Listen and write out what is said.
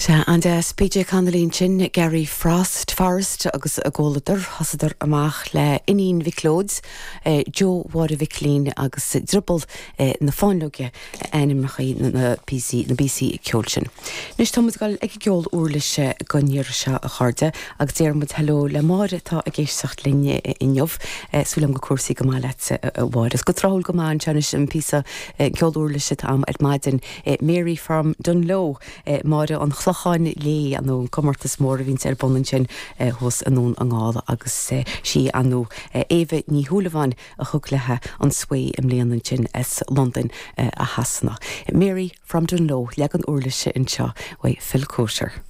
Sea, an-deas. PJ Connolly ansin, Gary Frost, Forrest agus a gcomhluadar. Thosaíodar amach le Iníon Mhic Leoid, Joe Mháire Mhicilín agus Drioball na Fáinleoige ainmneacha na bpíosaí, na bpíosaí ceoil sin. Anois tá muid ag dul ag an gceol uirlise don iarraidh seo a chairde agus déarfaidh muid hello le Máire atá ag éisteacht linn inniu. Súil agam go bhfuil cúrsaí go maith leat a Mháire. Is go tráthúil go maith anseo anois an píosa ceol uirlise atá agam ar maidin. Mary from Dungloe, Máire an Chlocháin Léith, ar ndóigh an comórtas mór a bhíonns ar bun ansin thuas i nDún na nGall agus sí ar ndóigh Éabha Ní Shúilleabháin a thug léi an svae i mbliana ansin as Londain i Shasana. Mary from Dungloe, leagan uirlise anseo uaidh Phil Coulter.